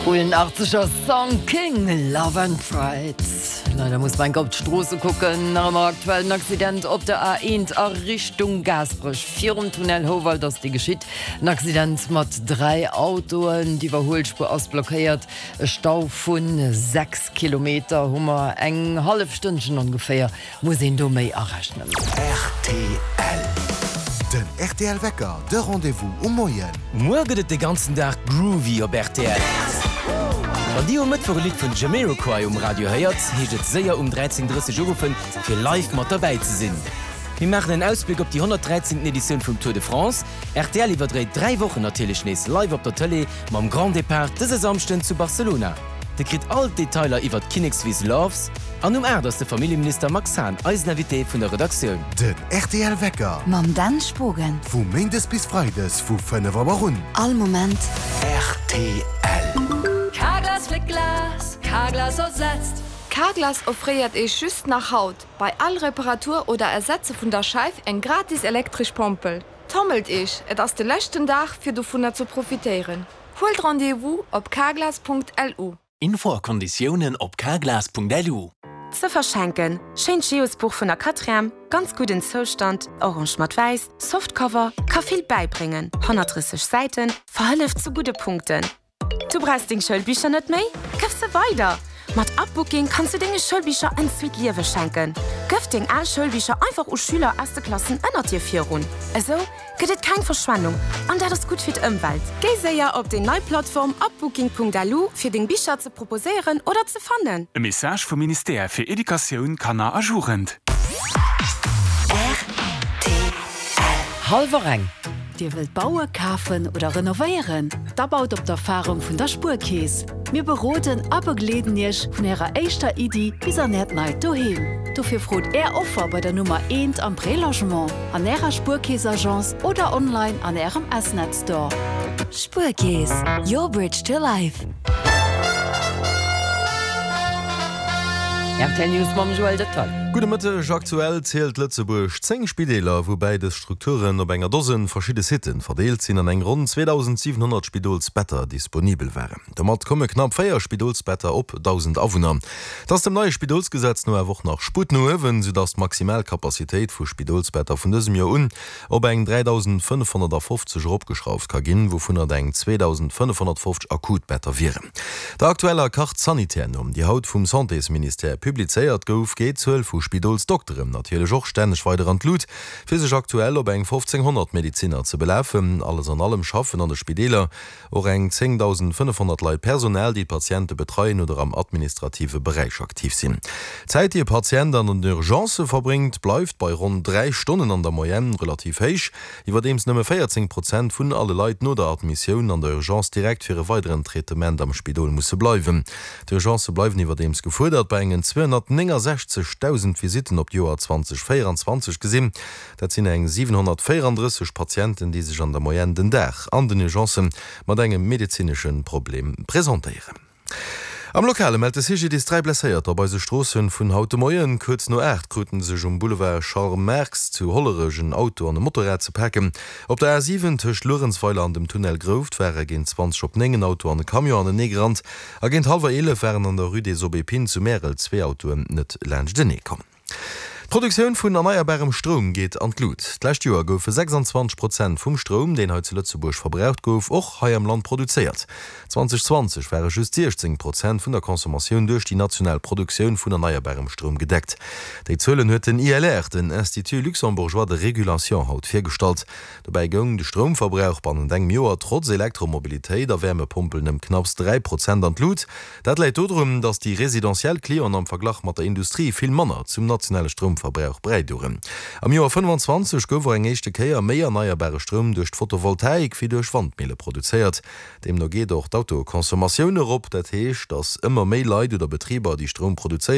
Coolen 80er Song King, Love and Pride. Leider muss mer enk op d'Stroosse kucken. Nach ëmmer aktuell en Accident op der A1 a Richtung Gaasperech. Virum Tunnel Houwald ass dee geschitt. En Accident mat 3 Autoen. D'Iwwerhuelspuer ass blockéiert. E Stau vu 6 Kilometer hu mer eng hallef Stënnchen ongeféier. Muss een do méi arechnen. Rtl. Den rtl Wecker, de Rendez-vous um Moien. Muer gëtt et de ganzen Dag groovy op rtl. Wann dir um Mëttwoch e Lidd vun Jamiroquai um Radio héiert, heescht et séier um 13:30 uruffen, fir live mat derbäi ze sinn. Mir maachen en Ausbléck op déi 113. Editioun vum Tour de France. Rtl iwwerdréit 3 Wochen natierlech nees live op der Tëlee mam Grand Depart dëse Samschden zu Barcelona. Dir kritt all d'Detailer iwwert d'Kinnekswiss Loves an um 8 ass de Familljeminister Max Hahn eisen Invité vun der Redaktioun. Den rtl Wecker. Mam Dan Spogen. Vu Méindes bis Freides vu 5 Auer un. All Moment. Rtl. Carglass fléckt Glas, Carglass ersetzt. Carglass offréiert Iech just nach haut bei all Reparatur oder Ersetze vun der Scheif eng gratis elektresch Pompel. Tommelt Iech, et ass de leschten Dag fir dovunner ze profitéieren. Huelt Rendez-vous op carglass.lu. Info a Konditiounen op carglass.lu. Ze verschenken, Schéint Geosbuch vun der Quatrième, ganz gudden Zoustand, orange mat wäiss, Softcover, ka vill bäibréngen, 130 Säiten, verhëlleft zu gudde Punkten. Du brauchs deng Schoulbicher net méi? Këff se weider! Mat Upbooking kanns du denge Schoulbicher en zweet Liewe schenken. Gëff deng al Schoulbicher einfach u Schüler aus de Klassen ënnert dir virun. Esou gëtt et keng Verschwendung an dat ass gutt fir d'Ëmwelt. Géi séier op déi nei Plattform upbooking.lu fir deng Bicher ze proposéieren oder ze fannen. E Message vum Ministère fir Educatioun, Kanner a Jugend. Hallwer eng. Dir wëllt baue, kafen oder renovéieren? Da baut op d'Erfarung vun der Spuerkeess. Mir beroden a begleeden Iech vun Ärer éischter Iddi bis an Äert neit Doheem. Dofir frot Är Offer bei der Nummer eent am Prélogement, an Ärer Spuerkeess-Agence oder online an Ärem S-Net Store. Spuerkeess, your bridge to life. Rtl News mam Joël Dettal. Gudde Mëtteg. Aktuell zielt Lëtzebuerg 10 Spideeler, woubäi dës Strukturen op enger Dosen verschidde Sitten verdeelt sinn an eng ronn 2.700 Spidolsbetter disponibel waren. Domat komme knapp 4 Spidolsbetter op 1.000 Awunner. Et ass dem neie Spidolsgesetz no awer och nach Sputt no uewen, soudass d'maximal Capacitéit vu Spidolsbetter vun dësem Joer un op eng 3.550 eropgeschrauft ka ginn, wouvunner eng 2.550 akut Better wieren. Der aktueller Carte sanitaire no, déi haut vum Santésministère publizéiert gouf, geet d'Zuel vu Spidolsdokteren natierlech och stänneg weider an d'Lut, fir sech aktuell op eng 1.500 Medezinner ze belafen. Alles an allem schaffen an de Spideeler Och eng 10.500 Leit Personal, déi d'Patiente betreien oder am administrative Beräich aktiv sinn. D'Zäit, déi e Patient an den Urgencë verbréngt, bleift bei ronn 3 Stonnen an der Moyenne relativ héich, iwwerdeems nëmme 14 Prozent vun alle Leit no der Admissioun an der Urgence direkt fir e weideren Traitement am Spidol musse bleiwen. D'Urgencë bleiwen iwwerdeems gefuerdert, bei engen 269.000 Visitten op d'Joer 2024 gesinn. Dat sinn eng 734 Patienten, déi sech an der Moyenne den Dag an den Urgencen mat engem medezinesche Problem presentéieren. Am Lokale mellt de CGDIS 3 Blesséierter op eise Stroossen vun haut de Moien. Kuerz no 8 kruten sech um Boulevard Charles Marx zu Hollerech en Auto an e Motorrad ze paken. Op der A7 tëscht Luerenzweiler an dem Tunnel Grouft ware géint 20 op 9 en Auto an e Camion anenee gerannt a géint hallwer 11 waren an der Rue des Aubépines zu Märel zwee Autoen net laanschtenee komm. D'Produktioun vun erneierbarem Stroum geet an d'Lut. D'lescht Joer goufe 26 Prozent vum Stroum, deen hei zu Lëtzebuerg verbraucht gouf, och hei am Land produzéiert. 2020 ware just 16 Prozent vun der Consommatioun duerch déi national Produktioun vun erneierbarem Stroum gedeckt. Déi Zuelen huet den ILR, den Institut luxembourgeois de régulation, haut virgestallt. Dobäi goung de Stroumverbrauch bannent engem Joer trotz Elektromobilitéit a Wäermepompelen ëm knapps 3 Prozent an d'Lut. Dat läit dodrun, datt déi residentiell Clienten am Verglach mat der Industrie vill manner zum nationale Stroumverbrauch bräidoen. Am Joer 25 gouf och eng éischte Kéier méi erneierbare Stroum duerch d'Photovoltaik wéi duerch Wandmille produzéiert. Deemno geet och d'Autoconsommatioun erop. Dat heescht, datt ëmmer méi Leit oder Betriber, déi Stroum produzéieren.